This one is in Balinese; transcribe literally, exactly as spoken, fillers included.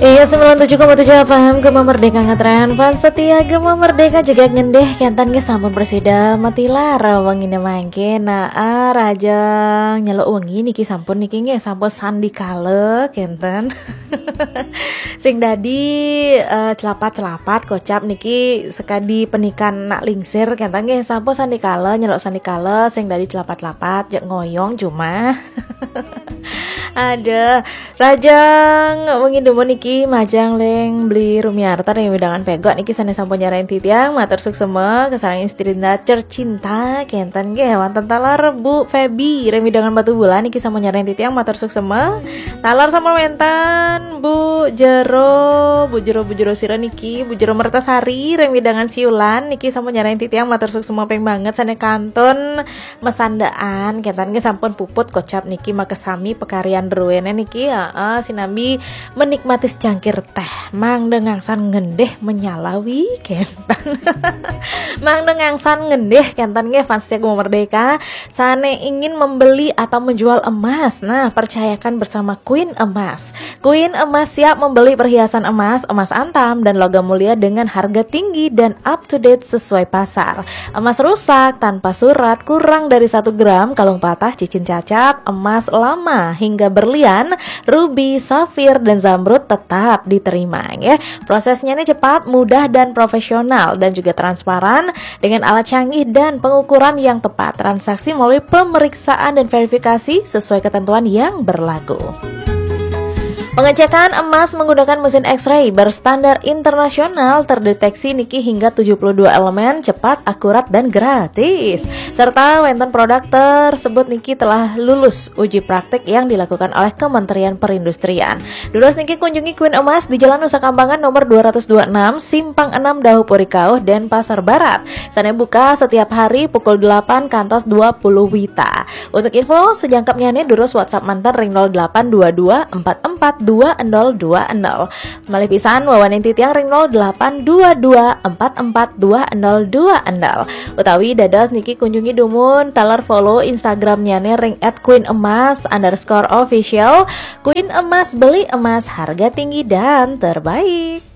Iya, sembilan tujuh koma tujuh F M Gema Merdeka ngetren. Fans setia Gema Merdeka juga ngendih, kentan nggih sampun presida matilar wengine mangke. Nah, ah, rajang nyeluk wengi niki sampun niki nggih sampun sandikala kenten. Sing dadi eh, celapat-celapat kocap niki sekadi penikan nak lingsir kenten nggih sampun sandikala nyeluk sandikala sing dadi celapat-celapat jek ngoyong cuma. Ada Rajang wengi dumun niki majang leng beli Rumiarta ring wewidangan Pegok niki sane sampun nyarengin titiang matur suksema kasarengin istri tercinta kenten nggih wonten taler Bu Feby ring wewidangan Batubulan niki sampun nyarengin titiang matur suksema. Taler sampun wenten Bu Jero, Bu Jero, Bu Jero sira niki, Bu Jero Mertasari ring wewidangan Siulan niki sampun nyarengin titiang matur suksema ping banget sane kantun mesandaan kenten nggih sampun puput kocap niki makasami pekaryan druene niki heeh sinambi menikmati secangkir teh mangda ngangsan ngendih menyalawi kenten. Mangda ngangsan ngendih kenten nggih fans setia Gema Merdeka sane ingin membeli atau menjual emas nah percayakan bersama Queen Emas. Queen Emas siap membeli perhiasan emas, emas antam dan logam mulia dengan harga tinggi dan up to date sesuai pasar. Emas rusak tanpa surat kurang dari satu gram, kalung patah, cincin cacat, emas lama hingga berlian, rubi, safir, dan zamrud tetap diterima ya. Prosesnya ini cepat, mudah, dan profesional dan juga transparan dengan alat canggih dan pengukuran yang tepat. Transaksi melalui pemeriksaan dan verifikasi sesuai ketentuan yang berlaku. Pengecekan emas menggunakan mesin X-ray berstandar internasional terdeteksi niki hingga tujuh puluh dua elemen, cepat, akurat, dan gratis. Serta wenten produk tersebut niki telah lulus uji praktik yang dilakukan oleh Kementerian Perindustrian. Durus niki kunjungi Queen Emas di Jalan Nusa Kambangan nomor dua ratus dua puluh enam, Simpang enam Dahu Puri Kauh, Denpasar Barat. Sane buka setiap hari pukul delapan kantos dua puluh wita. Untuk info sejangkepnyane durus WhatsApp manten ring nol delapan dua dua empat empat dua nol dua nol. Malih pisan wawanin titiang ring nol delapan dua dua empat empat dua nol dua nol. Utawi dados niki kunjungi dumun taler follow Instagramnyane ring at queen emas underscore official. Queen Emas, beli emas harga tinggi dan terbaik.